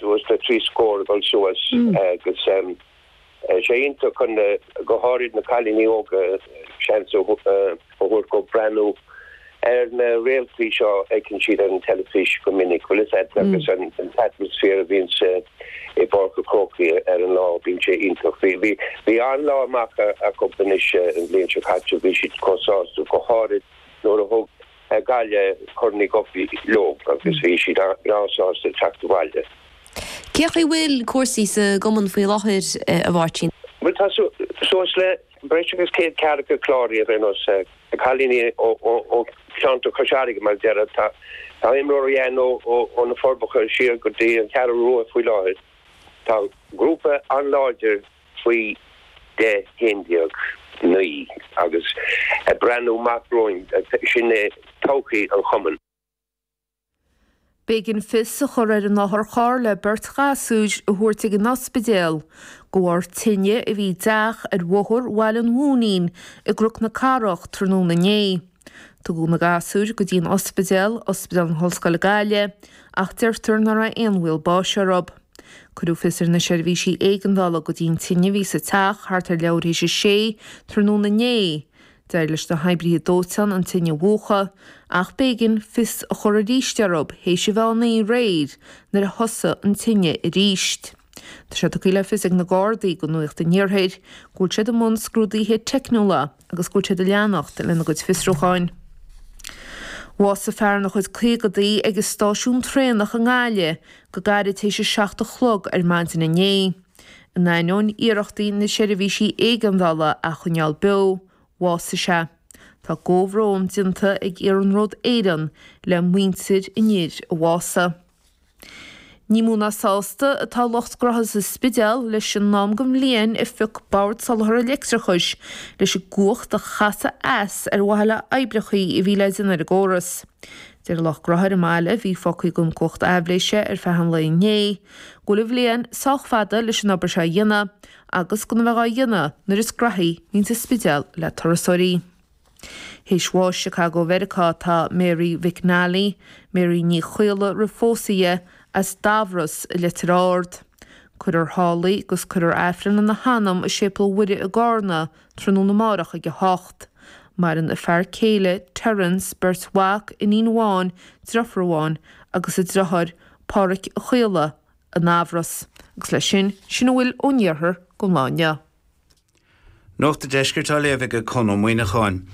suas le 3 scór ag dul suas agus sé iontach chun go háirid na cailíní óga seans a thabhairt dóibh breathnú ar na réaltaí seo a fheiceann siad ar an teilifís go minic, bhfuil fhios agat, agus an t-atmaisféar a bhíonn i bPáirc an Chrócaigh ar an lá, bíonn sé iontach. Bhí bhí an-lá amach acu anois an bhliain seo caite, bhí siad chomh sásta, go háirid nuair a thug Gaillimh Corn Uí Dhufaigh leo agus bhí siad breá sásta teacht abhaile. Cén chaoi a bhfuil cúrsaí sa gcumann faoi láthair, a Mháirtín? Bhuel, tá suas le breis agus 100 ceathracha cláraithe ar aon nós. Na cailíní ó cheantar Chois Fharraige, mar a déarfá. Tá imreoirí ann ó na Forbacha siar go dtí an Cheathrú Rua faoi láthair. Tá grúpa an-láidir faoi 10, 11, 9 agus ag breathnú amach romhainn, sin é todhchaí an chumainn. B'éigean fios a chur ar an otharcharr le beirt ghasúr a thabhairt ag an ospidéal de bharr tine a bhí i dteach ar Bhóthar Bhaile an Mhúinín i gCnoc na Cathrach tráthnóna inné. Tugadh na gasúir go dtí an ospidéal, Ospidéal na hOllscoile Gaillimh, ach deirtear nach raibh aon bhaol báis orthu. Cuireadh fios ar na seirbhísí éigeandála go dtí an tine a bhí sa teach thart ar leathuair théis a sé tráthnóna inné. D'éirigh leis na hoibrithe dóiteáin an tine a mhúchadh, ach b'éigean fios a chur arís orthu théis a mheán oíche aréir nuair a thosaigh an tine arís. Tá sé tugtha le fios ag na Gardaí do Nuacht an Iarthair go bhfuil siad i mbun scrúduithe teicniúla agus go bhfuil siad ag leanacht lena gcuid fiosrúcháin. Bhásaigh fear ina chuid caogadaí ag an stáisiún traenach i nGaillimh go gairid théis a 7 a chlog ar maidin inné. In ainneoin iarrachtaí na seirbhísí éigeandála é a choinneáil beo, bhásaigh sé. Tá comhbhrón déanta ag Iarnród Éireann le muintir an fhir a bhásaigh. Ní mó ná sásta atá lucht graithe sa Spidéal leis an am den bhliain a phioc Bord Soláthair Leictreachais leis an gcumhacht a chasadh as ar mhaithe le oibreachaí a bhí le déanamh ar an gcóras. Deir lucht graithe ar an mbaile a bhí fágtha gan cumhacht aibhléise ar feadh an lae inné, go bhfuil an bhliain sách fada leis an obair seo a dhéanamh agus gan a bheith á dhéanamh nuair is graithí a bhíonns an Spidéal le turasóirí. Théis bháis i Chicago Mheiriceá atá Mary McNally, Mary Ní Chaola roimh phósadh di, as Dubhros i Leitir Ard. Cuirfear thall í agus cuirfear Aifreann lena hanam i Séipéal Mhuire i gCarna tráthnóna amárach ag 8. Maireann a fear céile, Terence, beirt mhac, iníon amháin, driofúr amháin agus a driotháir, Páraic Ó Caola, i nDubhros. Agus leis sin, sin a bhfuil ón iarthar don lá inniu. Nuacht an Deiscirt á léamh ag Conn Ó Muíneacháin.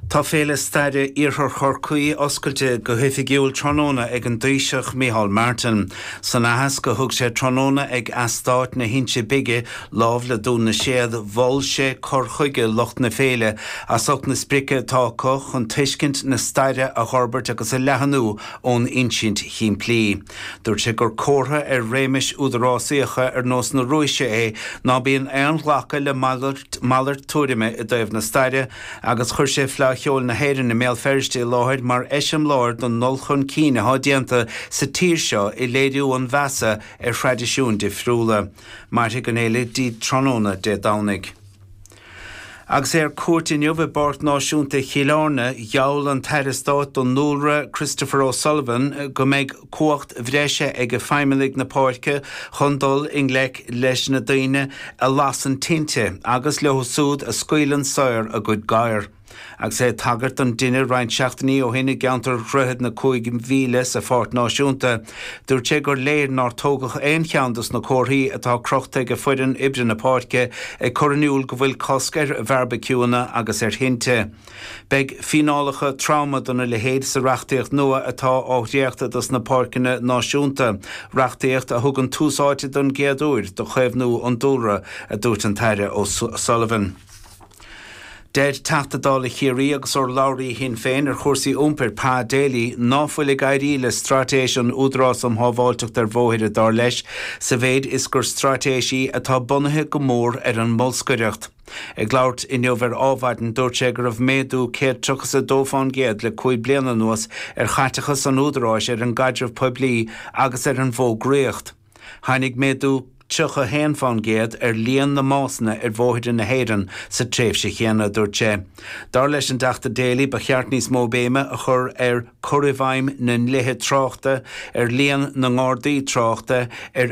Tá Féile Staire Iarthar Chorcaí oscailte go hoifigiúil tráthnóna ag an dTaoiseach Micheál Martin. San aitheasc a thug sé tráthnóna ag Eastát na hInse Bige, lámh le Dún na Séad, mhol sé cur chuige lucht na féile as ucht na sprice atá acu chun tuiscint na staire a dh'fhorbairt agus a leathnú ón insint shimplí. Dúirt sé gur comhartha ar réimis údarásaíocha ar nós na Rúise é ná bíonn aon ghlacadh le malairt tuairime i dtaobh na staire agus chuir sé Fleadh Cheoil na hÉireann i mBéal Feirste i láthair mar eiseamláir don ndul chun cinn atá déanta sa tír seo i léiriú an mheasa ar thraidisiúin difriúla. Mairfidh an fhéile dtí tráthnóna Dé Domhnaigh. Agus é ar cuairt inniu i bPáirc Náisiúnta Chill Airne, gheall an tAire Stáit don Dúlra, Christopher O'Sullivan, go mbeidh cumhacht bhreise ag feidhmeannaigh na páirce chun dul i ngleic leis na daoine a lasann tinte agus leo súd a scaoileann saor a gcuid gadhar. Agus é ag tagairt don dtine roinnt seachtainí ó shin i gceantar Dhroichead na Cúig Mhíle sa Pháirc Náisiúnta, dúirt sé gur léir nár tógadh aon cheann dos na comharthaí atá crochta ag foireann oibre na páirce ag cur in iúl go bhfuil cosc ar bhearbaiciúanna agus ar thinte. Beidh fíneálacha troma dona leithéid sa reachtaíocht nua atá á dhréachtadh dos na páirceanna náisiúnta, reachtaíocht a thugann tús áite don gcéad uair do chaomhnú an dúlra, a dúirt an tAire O'Sullivan. Deir Teachta Dála Chiarraí agus urlabhraí Shinn Féin ar chúrsaí iompair, Pa Daly, ná fuil ag éirí le straitéis an Údarás um Shábháilteacht ar Bhóithre, dar leis, sa mhéid is gur straitéis í atá bunaithe go mór ar an mbolscaireacht. Ag labhairt inniu ar Ádhmhaidin, dúirt sé go raibh méadú 132 fán gcéad le 5 bliana anuas ar chaiteachas an Údaráis ar an gcaidreamh poiblí agus ar an bhfógraíocht. Tháinig méadú 31 fán gcéad ar líon na mbásanna ar bhóithre na hÉireann sa tréimhse chéanna, a dúirt sé. Dar leis an dTeachta Daly, ba cheart níos mó béime a chur ar cur i bhfeidhm na ndlíthe tráchta, ar líon na ngardaí tráchta, ar.